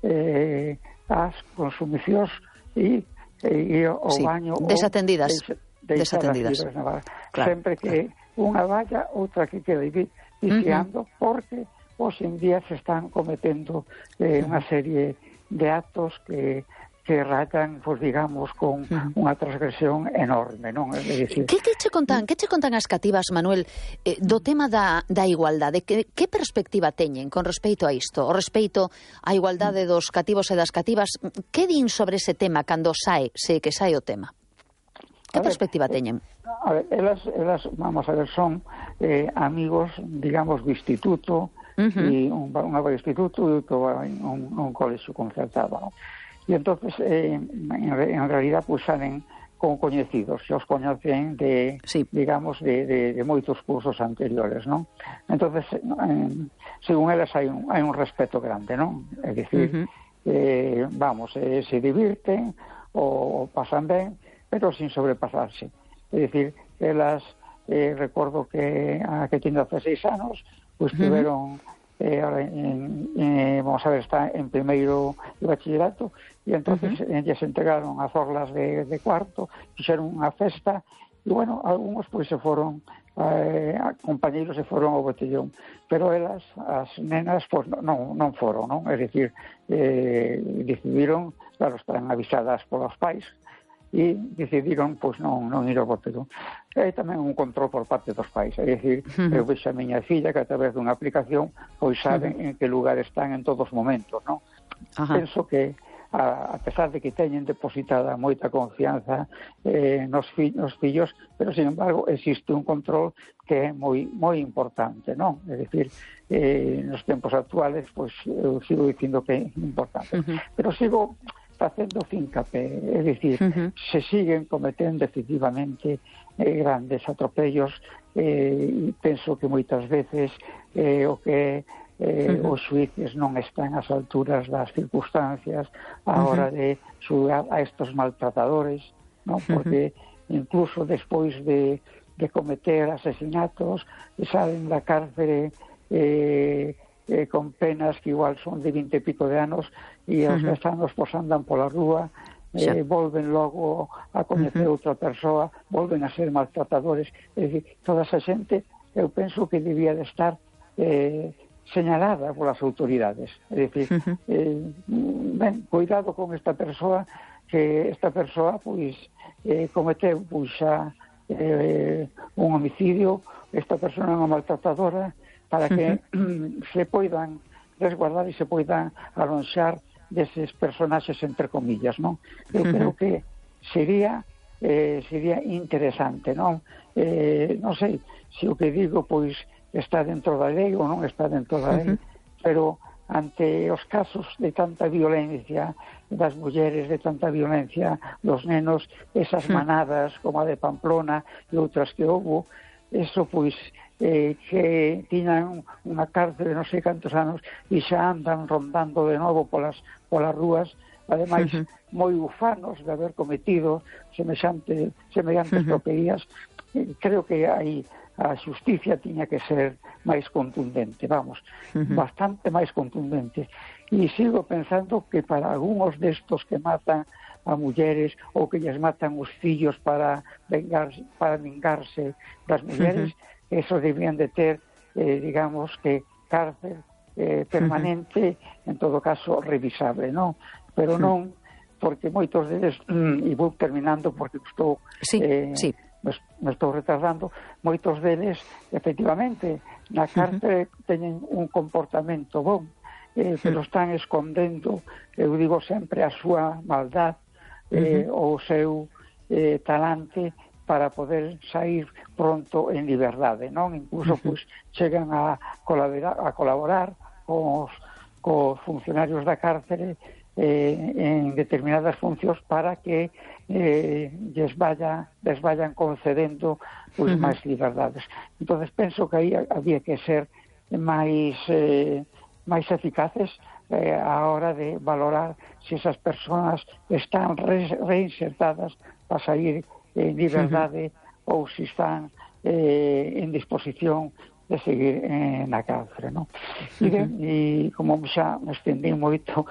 as consumicións e o baño desatendidas. Claro. Sempre que unha valla, outra que quede viciando, porque hoxe en día se están cometendo unha serie de actos que rayan, pues, digamos, con unha transgresión enorme, non? É dicir, que che contan as cativas, Manuel, do tema da igualdade? Que perspectiva teñen con respecto a isto? O respecto á igualdade dos cativos e das cativas, que din sobre ese tema cando sae o tema? Que perspectiva teñen? A ver, elas, vamos a ver, son amigos, digamos, do instituto, e un instituto e un colexio concertado, non? E entonces, en realidad, pues salen como coñecidos, se os coñecen digamos, de moitos cursos anteriores, non? Entonces, según elas, hai un respeto grande, non? É dicir, se divirten ou pasan ben, pero sin sobrepasarse. É dicir, elas, recordo que que tiene 16 anos, pues tiveron, vamos a ver, está en primeiro de bachillerato, e entonces ellas entregaron as orlas de cuarto, fixeron unha festa, e bueno, algúns pues se foron, compañeiros se foron ao botellón, pero elas, as nenas, pues non foron, non? É dicir, decidiron, claro, están avisadas polos pais, e decidiron, pois, non ir ao botellón. E tamén un control por parte dos pais, é dicir, eu vexo a miña filla que a través dunha aplicación pois saben en que lugar están en todos os momentos, non? Penso que a pesar de que teñen depositada moita confianza nos fillos, pero sin embargo existe un control que é moi importante, non? É dicir, nos tempos actuales, pois eu sigo dicindo que é importante, pero sigo facendo fincapé, é dicir, se siguen cometendo efectivamente grandes atropellos, e penso que moitas veces o que os xuíces non están ás alturas das circunstancias a hora de xugar a estos maltratadores, non? Porque incluso despois de cometer asesinatos salen da cárcere con penas que igual son de 20 e pico de anos, e aos 10 anos pues andan pola rúa, volven logo a coñecer outra persoa, volven a ser maltratadores. É dicir, toda esa xente eu penso que debía de estar señalada polas autoridades. É dicir, cuidado con esta persoa, que esta persoa pois cometeu xa un homicidio, esta persoa é unha maltratadora, para que se poidan resguardar e se poidan alonxar deses personaxes entre comillas, non? Eu creo que sería interesante, non? Non sei se o que digo pois está dentro da lei ou non está dentro da lei, pero ante os casos de tanta violencia das mulleres, de tanta violencia dos nenos, esas manadas como a de Pamplona e outras que houbo, eso pois que tiñan unha cárcel de non sei cantos anos e xa andan rondando de novo polas rúas, ademais moi ufanos de haber cometido semellantes tropelías. Creo que aí a xusticia tiña que ser máis contundente, bastante máis contundente, e sigo pensando que para algúns destos que matan a mulleres ou que lles matan os fillos para vingarse das mulleres, eso debían de ter, digamos, que cárcel permanente, en todo caso revisable, non? Pero non, porque moitos deles, e vou terminando porque estou me estou retardando, moitos deles, efectivamente, na cárcel teñen un comportamento bon, pero están escondendo, eu digo sempre, a súa maldad, o seu talante, para poder sair pronto en liberdade, non? Incluso pois chegan a colaborar cos funcionarios da cárcere en determinadas funcións para que les vayan concedendo pois máis liberdades. Entonces penso que aí había que ser máis eficaces a hora de valorar se esas persoas están reinsertadas para sair en liberdade ou se están en disposición de seguir na cárcere, non? E como xa me estendí moito,